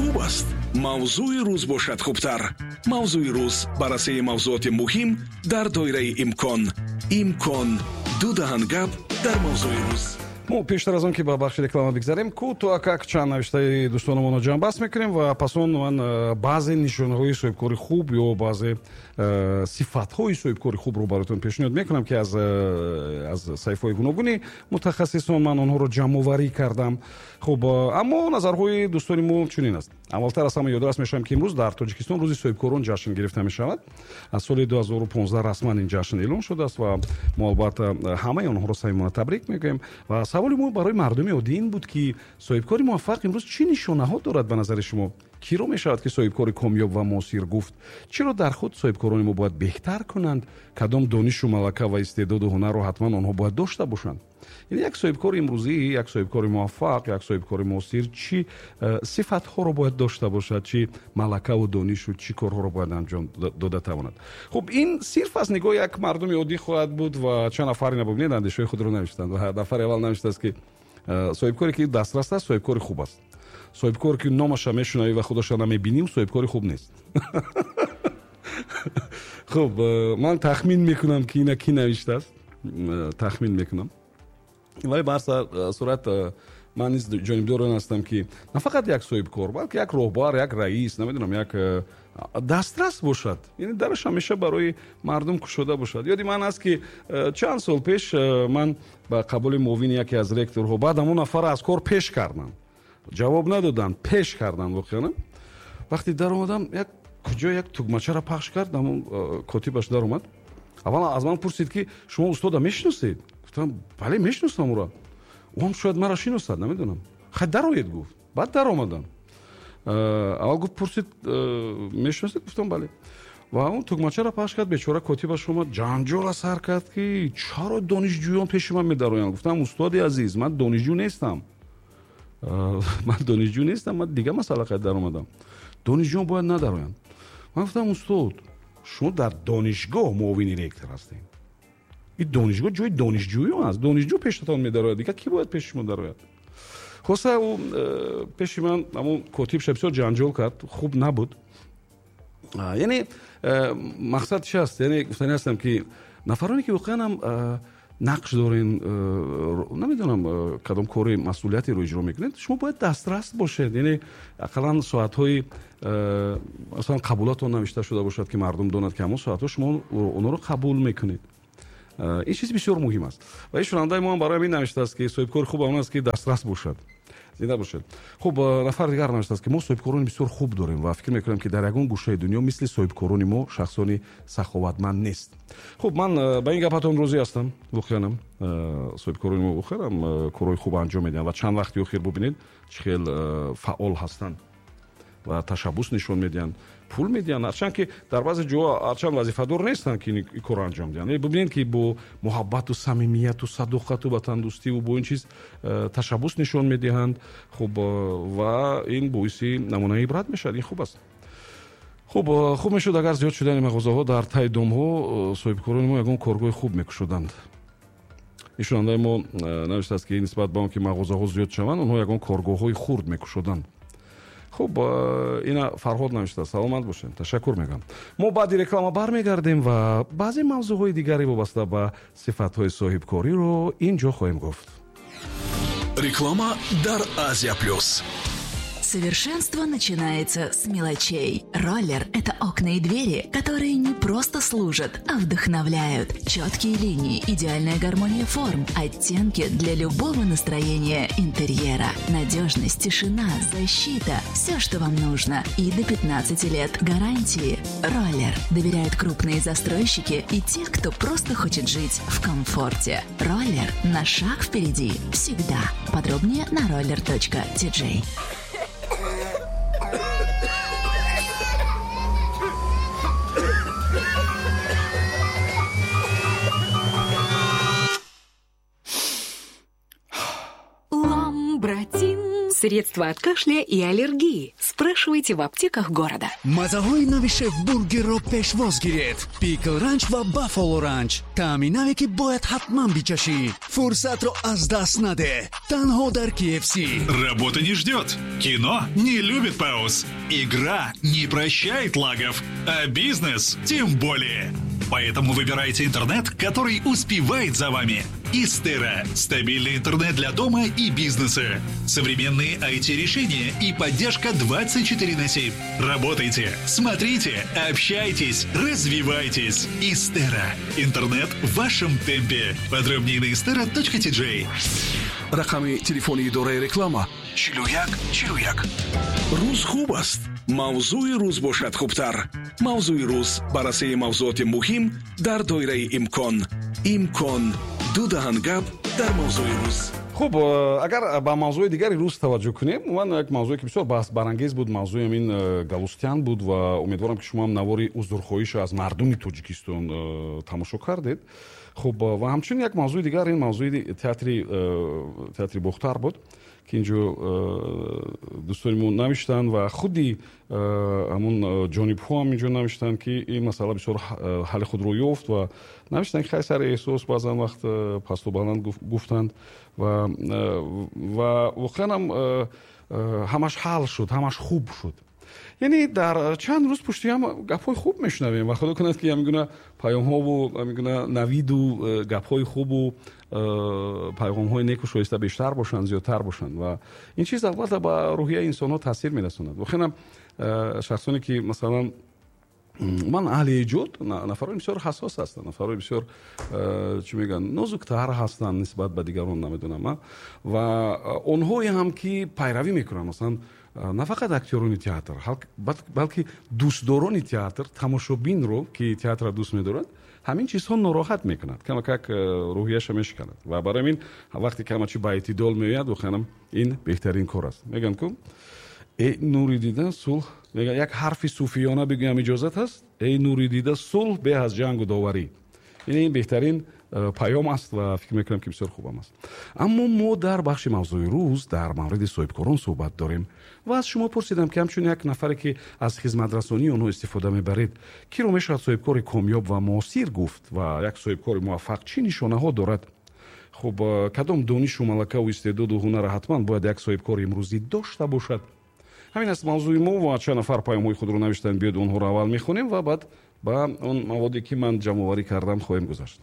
Хуб аст, мавзӯи рӯз бошад хубтар. Мавзӯи рӯз: баррасии мавзӯоти муҳим дар доираи имкон. Имкон: ду даҳан гап дар мавзӯи рӯз. Мо пештар аз он ки ба бахши реклама бигзарем, кӯтоҳакак чанд навиштаи дӯстономонро ҷамъбаст мекунем ва пас он ман баъзе нишонаҳои соҳибкори хуб ё баъзе сифатҳои соҳибкори хубро бароятон пешниҳод мекунам, ки аз саҳифаҳои гуногуни мутахассисон ман онҳоро ҷамъоварӣ кардам. Хуб, аммо назарҳои дӯстони мо чунин аст. Аввалтар аз ҳама ёдрас мешавам, ки имрӯз дар Тоҷикистон рӯзи соҳибкорон ҷашн гирифта мешавад. Аз соли 2015 расман ин ҷашн эълон шудааст ва мо албатта ҳамаи онҳоро самимона табрик мегӯем. Ва саволи мо барои мардуми оддӣ ин буд, ки соҳибкори муваффақ имрӯз чӣ нишонаҳо дорад? Ба назари шумо, киро мешавад, ки соҳибкори комёб ва муосир гуфт? Чиро дар худ соҳибкорони мо бояд беҳтар кунанд? Кадом донишу малака ва истеъдоду ҳунарро ҳатман онҳо бояд дошта бошанд? Яъне як соҳибкори имрӯзӣ, як соҳибкори муваффақ, як соҳибкори муосир чӣ сифатҳоро бояд дошта бошад, чӣ малакаву донишу чӣ корҳоро бояд анҷом дода тавонад? Хуб, ин сирф аз нигоҳи як мардуми оддӣ хоҳад буд ва чанд нафар, ина бубинед, андешаҳои худро навиштанд. Ва нафари аввал навиштааст, ки соҳибкоре ки дастрас аст, соҳибкори хуб аст. Соҳибкор ки номаша мешунавӣ ва худаша намебинӣ, соҳибкори хуб нест. Хуб, ман тахмин мекунам, ки ина кӣ навиштааст, тахмин мекунам, вале ба ҳар сурат ман низ ҷонибдори он ҳастам, ки на фақат як соҳибкор, балки як роҳбар, як раис, намедонам, як дастрас бошад, яъне дараш ҳамеша барои мардум кушода бошад. Ёди ман аст, ки чанд сол пеш ман ба қабули муовини яке аз ректорҳо, баъд ҳамон нафарро аз кор пеш кардам, ҷавоб надоданд, пеш карданд. Воқеан, вақте даромадам, як куҷо як тугмачаро пахш кард, ҳамон котибаш даромад. Аввал аз ман пурсид, ки шумо устода мешиносед? Гуфтам, бале, мешиносам ӯро, ӯ ҳам шояд маро шиносад, намедонам. Хай, дароед, гуфт. Баъд даромадам. Аввал гуфт, пурсид, мешиносед? Гуфтам, бале. Ва он тугмачаро пахш кард, бечора котибаш омад, ҷанҷола сар кард, ки чаро донишҷӯён пеши ман медароянд. Гуфтам, устоди азиз, ман донишҷӯ нестам, ман донишҷӯ нестам, ман дигар масъала қайд даромадам, донишҷӯён бояд надароянд. Ман гуфтам, устод, шумо дар донишгоҳ муовини ректор ҳастед, ин донишгоҳ ҷои донишҷӯён аст, донишҷӯ пештон медарояд, дигар кӣ бояд пеши шумо дарояд? Хулоса, ӯ пеши ман, ҳамон котибша, бисёр ҷанҷол кард, хуб набуд. Яъне мақсад чи аст? Яъне гуфтани ҳастам, ки нафароне ки воқеан ҳам нақш дорен, намедонам, кадом кори масъулиятеро иҷро мекунед, шумо бояд дастрас бошед. Яъне ақаллан соатҳои масалан қабулатон навишта шуда бошад, ки мардум донад, ки ҳамон соатҳо шумо онҳоро қабул мекунед. Ин чиз бисёр муҳим аст. Ва ин шунавандаи мо ҳам барои ҳамин навиштааст, ки соҳибкори хуб он аст, ки дастрас бошад. Зинда бошед. Хуб, нафар дигар навиштааст, ки мо соҳибкорони бисёр хуб дорем ва фикр мекунам, ки дар ягон гӯшаи дунё мисли соҳибкорони мо шахсони саховатманд нест. Хуб, ман ба ин гапатон розӣ ҳастам. Воқеанам соҳибкорони мо воқеанам корҳои хуб анҷом медиҳанд ва чанд вақти охир бубинед, чӣ хел фаъол ҳастанд ва ташаббус нишон медиҳанд, пул медиҳанд, ҳарчанд ки дар баъзе ҷоҳо ҳарчанд вазифадор нестанд, ки ин корро анҷом диҳанд. Бубинед, ки бо муҳаббату самимияту садоқату ватандӯстиву бо ин чиз ташаббус нишон медиҳанд. Хуб, ва ин боиси намунаи ибрат мешавад, ин хуб аст. Хуб, хуб мешуд, агар зиёд шудани мағозаҳо дар таи домҳо соҳибкорони мо ягон коргоҳи хуб мекушоданд. Ин шунавандаи мо навиштааст, ки нисбат ба он ки мағозаҳо зиёд шаванд, онҳо ягон коргоҳҳои хурд мекушоданд. Хуб, ина Фарҳод навиштааст. Саломат бошед, ташаккур мегӯям. Мо баъди реклама бармегардем ва баъзе мавзӯъҳои дигаре вобаста ба сифатҳои соҳибкориро ин ҷо хоҳем гуфт. Реклама дар Азия Плюс. Совершенство начинается с мелочей. Роллер – это окна и двери, которые не просто служат, а вдохновляют. Четкие линии, идеальная гармония форм, оттенки для любого настроения интерьера. Надежность, тишина, защита – все, что вам нужно. И до 15 лет гарантии. Роллер. Доверяют крупные застройщики и те, кто просто хочет жить в комфорте. Роллер на шаг впереди всегда. Подробнее на roller.tj. Ламбратин. Средства от кашля и аллергии. Спрашивайте в аптеках города. Мазаҳои нави Шеф Бургерро пешвоз гиред: Пикл Ранч ва Баффало Ранч, таъми наве, ки бояд ҳатман бичашӣ. Фурсатро аз даст надеҳ, танҳо дар KFC. Работа не ждет. Кино не любит пауз. Игра не прощает лагов. А бизнес тем более. Поэтому выбирайте интернет, который успевает за вами. Истера. Стабильный интернет для дома и бизнеса. Современные IT-решения и поддержка 24 на 7. Работайте, смотрите, общайтесь, развивайтесь. Истера. Интернет в вашем темпе. Подробнее на istera.tj. Рақами телефони идораи реклама: 41 41. Рӯз хуб аст, мавзӯи рӯз бошад хубтар. Мавзӯи рӯз: баррасии мавзуоти муҳим дар доираи имкон. Имкон ду даҳан гап дар мавзӯи рӯз. Хуб, агар ба мавзӯи дигари рӯз таваҷҷӯҳ кунем, умуман як мавзӯе, ки бисёр баҳсбарангез буд, мавзӯи ҳамин Галустян буд. Ва умедворам, ки шумоам навори узрхоҳиша аз мардуми Тоҷикистон тамошо кардед. Хуб, ва ҳамчунин як мавзӯи дигар, ин мавзӯи театри Бохтар буд, ки инҷо дӯстони мо навиштанд ва худи ҳамун ҷонибҳо ҳам инҷо навиштанд, ки ин масъала бисёр ҳалли худро ёфт. Ва навиштанд, ки хай, сари эҳсос баъзан вақт пасту баланд гуфтанд ва воқеан ҳам ҳамаш ҳал шуд, ҳамаш хуб шуд. Яъне дар чанд рӯз пушти ҳам гапҳои хуб мешунавем ва худо кунад, ки ҳамин гуна паёмҳову ҳамин гуна навиду гапҳои хубу пайғомҳои неку шоиста бештар бошанд, зиёдтар бошанд. Ва ин чиз албатта ба рӯҳияи инсонҳо таъсир мерасонад. Воқеан, шахсоне, ки масалан ман аҳли эҷод, нафарони бисёр ҳассос ҳастанд, нафарои бисёр, чӣ мегӯянд, нозуктар ҳастанд нисбат ба дигарон, намедонам. Ва онҳое ҳам, ки пайравӣ мекунанд, масалан, на фақат актёрони театр, балки дӯстдорони театр, тамошобинро, ки театрро дӯст медорад, ҳамин чизҳо нороҳат мекунад, камакак рӯҳияша мешиканад. Ва барои ҳамин вақте ки ҳама чи ба эътидол меояд, воқеанам ин беҳтарин кор аст. Мегӯянд ку, эй нури дида, сулҳ, мегӯянд, як ҳарфи суфиёна бигӯям, иҷозат ҳаст? Эй нури дида, сулҳ беҳ аз ҷангу доварӣ. Ин беҳтарин паём аст ва фикр мекунам, ки бисёр хубам аст. Аммо мо дар бахши мавзӯи рӯз дар мавриди соҳибкорон суҳбат дорем ва аз шумо пурсидам, ки ҳамчун як нафаре, ки аз хизматрасонии онҳо истифода мебаред, киро мешавад соҳибкори комёб ва муосир гуфт ва як соҳибкори муваффақ чӣ нишонаҳо дорад? Хуб, кадом донишу малакаву истеъдоду ҳунара ҳатман бояд як соҳибкори имрӯзӣ дошта бошад? Ҳамин аст мавзӯи мо ва чанд нафар паёмҳои худро навиштанд. Биёд, онҳоро аввал мехонем ва баъд ба он маводе, ки ман ҷамъоварӣ кардам, хоҳем гузашт.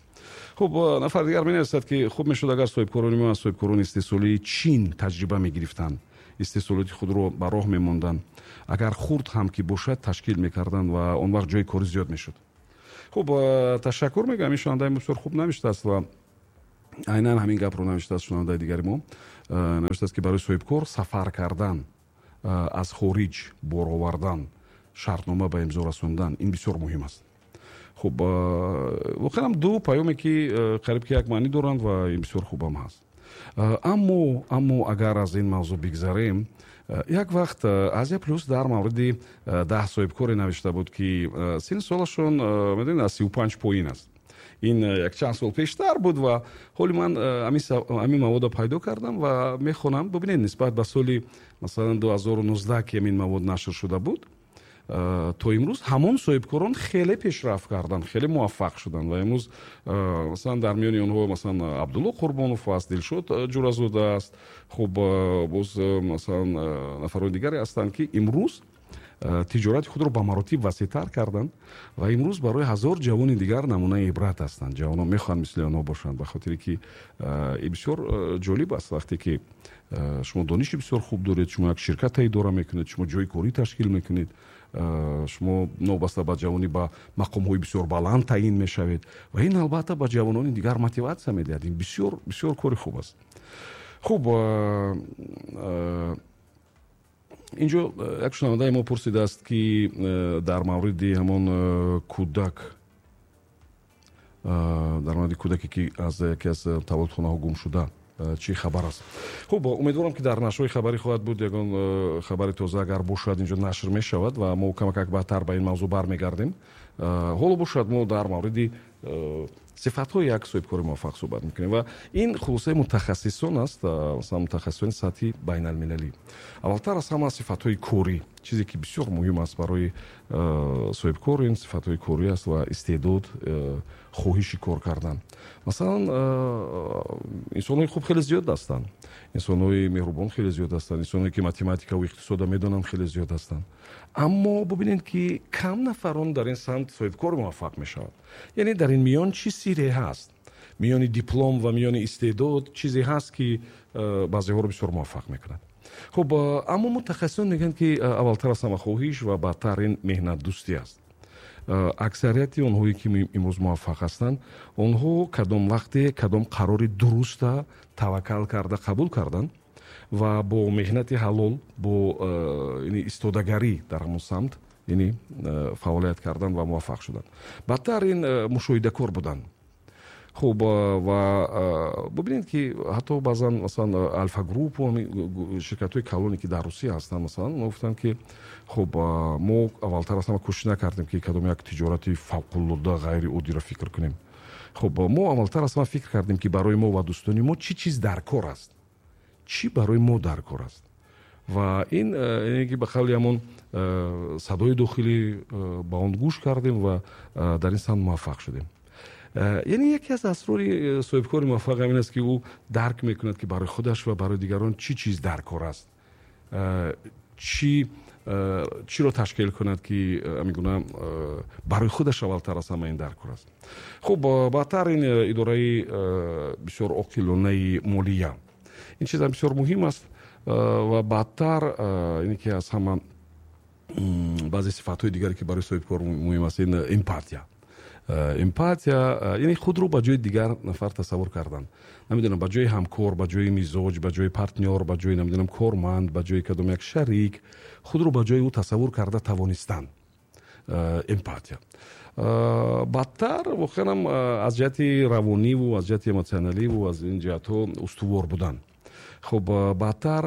Хуб, нафари дигар менависад, ки хуб мешуд, агар соҳибкорони мо аз соҳибкорони истеҳсолии Чин таҷриба мегирифтанд, истеҳсолоти худро ба роҳ мемонданд, агар хурд ҳам ки бошад, ташкил мекарданд ва он вақт ҷои кори зиёд мешуд. Хуб, ташаккур мегӯям, ин шунавандаи мо бисёр хуб навиштааст. Ва айнан ҳамин гапро навиштааст шунавандаи дигари мо. Навиштааст, ки барои соҳибкор сафар кардан, аз хориҷ бор овардан, шартнома ба имзо расондан — ин бисёр муҳим аст. Хуб, воқеан ду паёме, ки қариб ки як маънӣ доранд, ва ин бисёр хубам ҳаст. Аммо агар аз ин мавзӯъ бигзарем, як вақт Азия Плюс дар мавриди 10 соҳибкоре навишта буд, ки синну солашон, медонед, аз 35 поин аст. Ин якчанд сол пештар буд ва ҳоли ман ҳамин маводро пайдо кардам ва мехонам. Бубинед, нисбат ба соли, масалан, 2019, ки ҳамин мавод нашр шуда буд, то имрӯз ҳамон соҳибкорон хеле пешрафт карданд, хеле муваффақ шуданд. Ва имрӯз, масалан, дар миёни онҳо, масалан, Абдулло Қурбонов аст, Дилшод Ҷуразода аст. Хуб, боз, масалан, нафарони дигаре ҳастанд, ки имрӯз тиҷорати худро ба маротиб васеътар карданд ва имрӯз барои ҳазор ҷавони дигар намунаи ибрат ҳастанд. Ҷавонон мехоҳанд мисли онҳо бошанд, ба хотире ки ин бисёр ҷолиб аст. Вақте ки шумо дониши бисёр хуб доред, шумо як ширката идора мекунед, шумо ҷои корӣ ташкил мекунед, шумо новобаста ба ҷавонӣ ба мақомҳои бисёр баланд таъин мешавед ва ин албатта ба ҷавонони дигар мотиватсия медиҳад. Ин бисёр бисёр кори хуб аст. Хуб, инҷо як шунавандаи мо пурсидааст, ки дар мавриди ҳамон кӯдак, дар мавриди кӯдаке, ки аз яке аз таваллудхонаҳо гум шуда, чӣ хабар аст. Хуб, умедворам, ки дар нашрҳои хабарӣ хоҳад буд. Ягон хабари тоза агар бошад, инҷо нашр мешавад ва мо камакак баъдтар ба ин мавзӯъ бармегардем. Ҳоло бошад, мо дар мавриди Сифатҳои як соҳибкори муваффақ суҳбат мекунем ва ин хулосаи мутахассисон аст, масалан, мутахассисони сатҳи байналмилалӣ. Аввалтар аз ҳама, сифатҳои корӣ, чизе ки бисёр муҳим аст барои соҳибкор, ин сифатҳои корӣ аст ва истеъдод, хоҳиши кор кардан. Масалан, инсонҳои хуб хеле зиёд ҳастанд, инсонҳои меҳрубон хеле зиёд ҳастанд, инсонҳое ки математикаву иқтисода медонанд, хеле зиёд ҳастанд, аммо бубинед, ки кам нафарон дар ин самт соҳибкор муваффақ мешаванд. Яъне дар ин миён чӣ сирре ҳаст? Миёни диплом ва миёни истеъдод чизе ҳаст, ки баъзеҳоро бисёр муваффақ мекунад. Хуб, аммо мутахассисон мегӯянд, ки аввалтар аз ҳама хоҳиш ва баъдтар ин меҳнатдӯстӣ аст. Аксарияти онҳое ки имрӯз муваффақ ҳастанд, онҳо кадом вақте кадом қарори дуруста таваккал карда қабул карданд ва бо меҳнати ҳалол, бо истодагарӣ дар ҳамон самт, яъне фаъолият кардан ва муваффақ шуданд. Баъдтар ин мушоҳидакор буданд. Хуб, ва бубинед, ки ҳатто баъзан, масалан, Альфа Группу, ширкатҳои калоне, ки дар Русия ҳастанд, масалан, онҳо гуфтанд, ки хуб, мо аввалтар аз ҳама кӯшиш накардем, ки кадом як тиҷорати фавқулода ғайриоддиро фикр кунем. Хуб, мо аввалтар аз ҳама фикр кардем, ки барои мо ва дӯстони мо чӣ чиз дар кор аст, чӣ барои мо дар кор аст. Ва ин ки ба қавли ҳамон садои дохилӣ ба он гӯш кардем ва дар ин самт муваффақ шудем. Яъне яке аз асрори соҳибкори муваффақ ҳамин аст, ки ӯ дарк мекунад, ки барои худаш ва барои дигарон чӣ чиз дар кор аст, чӣ чиро ташкил кунад, ки ҳамин гуна барои худаш аввалтар аз ҳама ин дар кор аст. Хуб, баъдтар ин идораи бисёр оқилонаи молия, ин чизам бисёр муҳим аст. Ва баъдтар ине ки аз ҳама баъзе сифатҳои дигаре, ки барои соҳибкор муҳим аст, ин эмпатия. Эмпатия яъне худро ба ҷои дигар нафар тасаввур кардан, намедонам, ба ҷои ҳамкор, ба ҷои мизоҷ, ба ҷои партнёр, ба ҷои, намедонам, корманд, ба ҷои кадом як шарик, худро ба ҷои ӯ тасаввур карда тавонистан, эмпатия. Баъдтар воқеанам аз ҷиҳати равониву аз ҷиҳати эмотсионаливу аз ин ҷиҳатҳо устувор будан. Хуб, баъдтар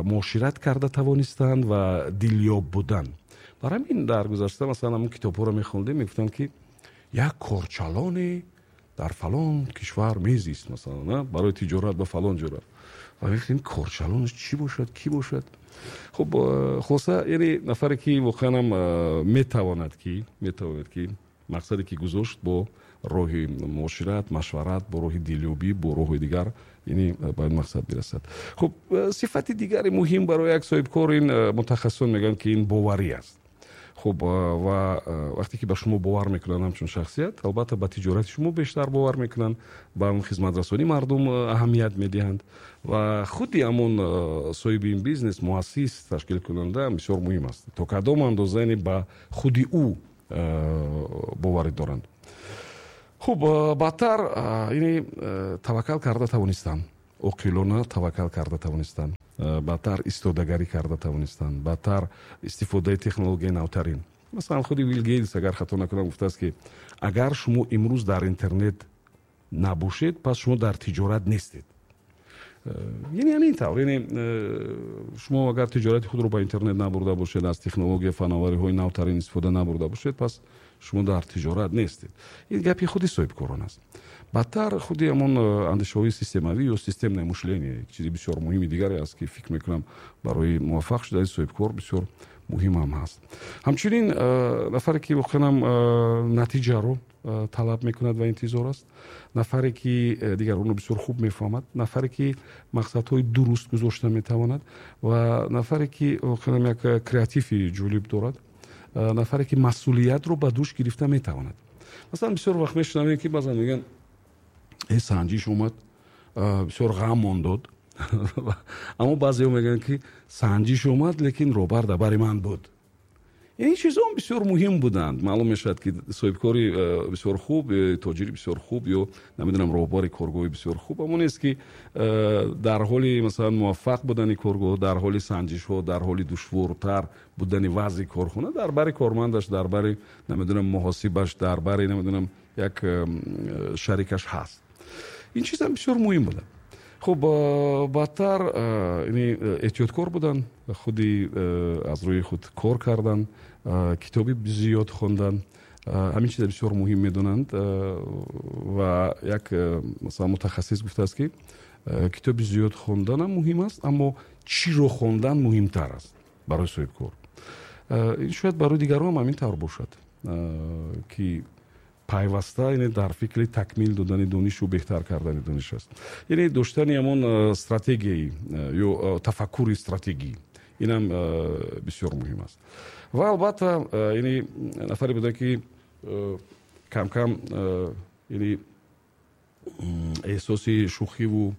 муошират карда тавонистан ва дилёб будан. Бар ҳамин дар гузашта, масалан, ҳамон китобҳоро мехондем, мегуфтанд, ки як корчалоне дар фалон кишвар мезист, масалан, барои тиҷорат ба фалон ҷо рафт, ва мегуфтем, корчалонаш чӣ бошад, кӣ бошад? Хуб, хулоса, яъне нафаре, ки воқеанам метавонад, ки мақсаде, ки гузошт, бо роҳи муошират, машварат, бо роҳи дилёбӣ, бо роҳҳои дигар, яъне ба ин мақсад бирасад. Хуб, сифати дигари муҳим барои як соҳибкор, ин мутахассисон мегӯянд, ки ин боварӣ аст. Хуб, ва вақте ки ба шумо бовар мекунанд ҳамчун шахсият, албатта, ба тиҷорати шумо бештар бовар мекунанд, ба хизматрасонии мардум аҳамият медиҳанд. Ва худи ҳамон соҳиби ин бизнес, муассис, ташкилкунанда бисёр муҳим аст, то кадом андоза, яъне ба худи ӯ боварӣ доранд. Хуб, баъдтар яъне таваккал карда тавонистан, оқилона таваккал карда тавонистан, баъдтар истодагарӣ карда тавонистан, баъдтар истифодаи технологияи навтарин. Масалан, худи Билл Гейтс, агар хато накунам, гуфтааст, ки агар шумо имрӯз дар интернет набошед, пас шумо дар тиҷорат нестед. Яъне ҳамин тавр, яъне шумо агар тиҷорати худро ба интернет набурда бошед, аз технология, фановариҳои навтарин истифода набурда бошед, пас шумо дар тиҷорат нестед. Ин гапи худи соҳибкорон аст. Баъдтар худи ҳамон андешаҳои системавӣ ё системное мышление чизи бисёр муҳими дигаре аст, ки фикр мекунам, барои муваффақ шудани соҳибкор бисёр муҳим ҳам ҳаст. Ҳамчунин нафаре, ки воқеанам натиҷаро талаб мекунад ва интизор аст, нафаре, ки дигаронро бисёр хуб мефаҳмад, нафаре, ки мақсадҳои дуруст гузошта метавонад, ва нафаре, ки воқеанам як креативи ҷолиб дорад, нафаре, ки масъулиятро ба дӯш гирифта метавонад. Масалан, бисёр вақт мешунавем, ки баъзан мегӯянд: «Э, санҷиш омад, бисёр ғам дод», аммо баъзеҳо мегӯянд, ки санҷиш омад, лекин роҳбар дар бари ман буд. Ин чизҳо бисёр муҳим буданд. Маълум мешавад, ки соҳибкори бисёр хуб, тоҷири бисёр хуб ё, намедонам, роҳбари коргоҳи бисёр хуб ҳамон нест, ки дар ҳоли, масалан, муваффақ будани коргоҳ, дар ҳоли санҷишҳо, дар ҳоли душвортар будани вазъи корхона дар бари кормандаш, дар бари, намедонам, муҳосибаш, дар бари, намедонам, як шарикаш ҳаст. Ин чизам бисёр муҳим буда. Хуб, баъдтар эҳтиёткор будан, худи аз рӯи худ кор кардан, китоби зиёд хондан. Ҳамин чиза бисёр муҳим медонанд. Ва як, масалан, мутахассис гуфтааст, ки китоби зиёд хонданам муҳим аст, аммо чиро хондан муҳимтар аст барои соҳибкор. Ин шояд барои дигарон ҳам ҳамин тавр бошад, ки пайваста, яъне, дар фикри такмил додани донишу беҳтар кардани дониш аст, яъне доштани ҳамон стратегияи ё тафаккури стратегӣ, инам бисёр муҳим аст. Ва албатта, яъне, нафаре буда, ки камкам, яъне, эҳсоси шӯхиву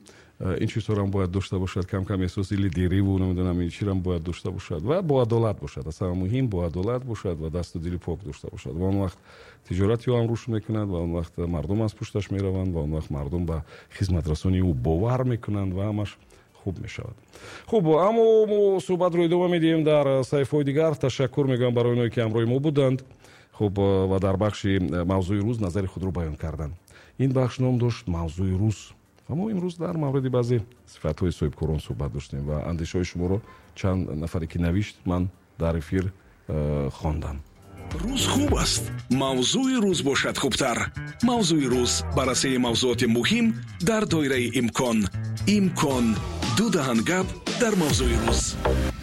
ин чизҳоро бояд дошта бошад, камкам эҳсоси лидериву, намедонам, ин чиро бояд дошта бошад ва боадолат бошад. Аз ҳама муҳим боадолат бошад ва дасту дили пок дошта бошад. Ва он вақт тиҷорати ӯ ҳам рушд мекунад, ва он вақт мардум аз пушташ мераванд, ва он вақт мардум ба хизматрасонии ӯ бовар мекунанд ва ҳамаш хуб мешавад. Хуб, аммо мо суҳбатро идома медиҳем дар саҳифаҳои дигар. Ташаккур мегӯям барои оное, ки ҳамроҳи мо буданд. Хуб, ва дар бахши «Мавзӯи рӯз» назари худро баён карданд. Ин бахш ном дошт «Мавзӯи рӯз» ва мо имрӯз дар мавриди баъзе сифатҳои соҳибкорон суҳбат доштем ва андешаҳои шуморо, чанд нафаре ки навишт, ман дар эфир хондам. Рӯз хуб аст, мавзӯи рӯз бошад хубтар. «Мавзӯи рӯз», баррасии мавзӯоти муҳим дар доираи имкон. Имкон ду даҳан гап дар мавзӯи рӯз.